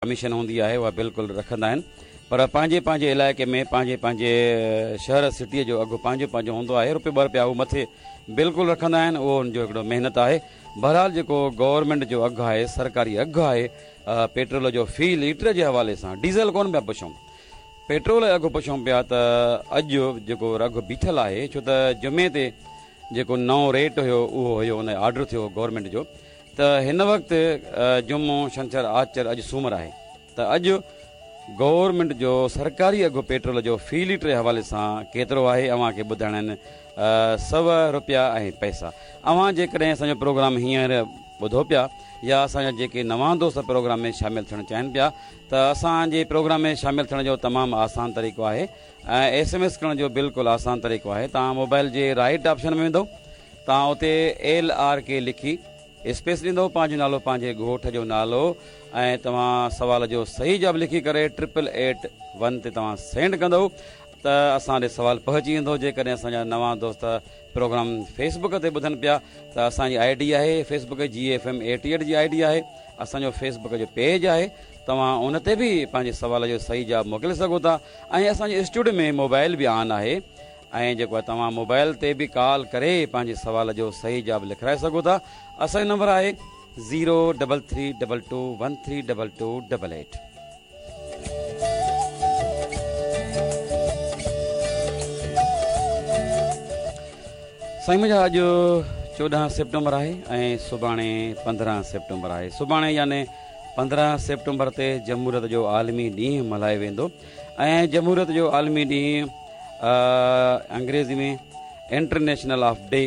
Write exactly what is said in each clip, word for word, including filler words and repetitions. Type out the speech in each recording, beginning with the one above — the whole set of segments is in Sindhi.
ڪميشن هوندي آهي اها بلڪل رکندا آهن پر پنهنجي پنهنجي علائقي ۾ پنهنجي پنهنجي شهر سٽيء جو اگهه پنهنجو پنهنجو هوندو آهي روپيو ٻه روپيا هو مٿي بلڪل رکندا آهن اهو ان جو هڪڙو محنت آهي. بهرحال جيڪو گورنمينٽ جو اگهه آهي سرڪاري اگهه آهي پيٽرول جو في ليٽر جي حوالي سان ڊيزل ڪونه پيا پڇون پيٽرول جو اگهه پڇون پيا ته اڄ جيڪو اگهه بيٺل آهي ڇو ته جمعي تي جيڪو نئون ريٽ هيو اهو هيو ان آرڊر ٿيو گورنمينٽ جو ته هن وقت جمعو ڇنڇر آچر اڄ سومر آهي ته اڄ گورنمينٽ جو سرڪاري اگهه پيٽرول جو في ليٽر جي حوالي سان ڪيترو آهي اوهان کي ٻڌائڻا آهن سؤ روپيا ۽ پئسا. اوهان جيڪڏهن اسان جو پروگرام هينئر ٻڌو پيا يا اسان جا جيڪي نوان دوست پروگرام ۾ شامل ٿيڻ چاهين پيا ته اسان جي پروگرام ۾ شامل ٿيڻ جو تمام آسان طريقو آهي ۽ ايس ايم ايس ڪرڻ جو بلڪل آسان طريقو آهي. توهان موبائل جي رائٽ آپشن ۾ ويندو توهان اتي ايل آر ڪي لکي اسپيس ڏيندو پنهنجو نالو پنهنجي ڳوٺ جو نالو ۽ توهان سوال جو صحيح جواب لکي ڪري ٽرپل ايٽ ون تي توهان سينڊ ڪندو ته اسان ڏي سوال پهچي ويندو. جيڪڏهن اسان جا نوان دوست پروگرام فيس بڪ تي ٻڌن پيا ته اسان جي I D آهي فيس بڪ جي ايف ايم ايٽي ايٽ جي I D آهي اسان جو فيس بڪ جو پيج آهي توهان ان تي به پنهنجي سوال جو صحيح جواب موڪلي سگهو ٿا ۽ اسان جي اسٽوڊيو ۾ موبائل به آن آهي ۽ جيڪو آهي توهان موبائل تي به ڪال ڪري پنهنجي سوال جو صحيح جواب لکرائي سگهو ٿا. اسان جو نمبر آهي zero double three double two one three double two double eight. سائين منهنجا اڄ چوڏهن سيپٽمبر آهي ۽ سڀاڻي پندرهن سيپٽمبر آهي. سڀاڻي يعني پندرهن سيپٽمبر تي جمهوريت جو عالمي ڏينهن ملهايو ويندو ۽ جمهوريت جو عالمي ڏينهن انگريزي ۾ انٽرنيشنل آف ڊي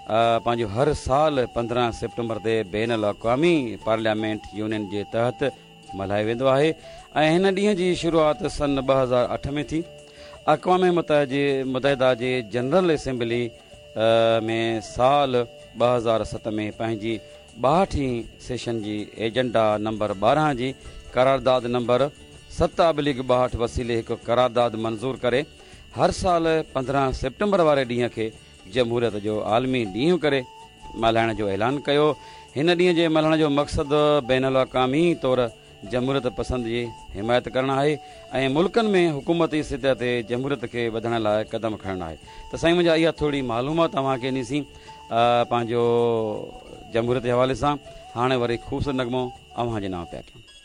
پنهنجو هر سال پندرهن سيپٽمبر تي بين الاقوامي پارليامينٽ يونين جي تحت ملهايو ويندو آهي ۽ هن ڏينهن جي شروعات سن ٻه هزار اٺ ۾ ٿي. اقوام متحده جي جنرل اسيمبلي ۾ سال ٻه هزار ست ۾ پنهنجي ٻاهٺين سيشن جي ايجنڊا نمبر ٻارهن جي قرارداد نمبر ست ابليگ ٻاهٺ وسيلي هڪ قرارداد منظور ڪري هر سال پندرهن سيپٽمبر واري ڏينهن کي جمهوريت جو عالمي ڏينهن ڪري ملهائڻ جو اعلان ڪيو. هن ڏينهن جي ملهائڻ جو مقصد بين الاقوامي طور جمهوريت پسند جي حمايت ڪرڻ آهي ۽ ملڪن ۾ حڪومتي سطح تي جمهوريت کي وڌائڻ لاء قدم کڻڻ آهي. ته سائين منهنجا اها ٿوري معلومات اوهان کي ڏنيسين پنهنجو جمهوريت جي حوالي سان. هاڻي وري خوبصورت نغمو اوهان جي نانء پيا ڪيون.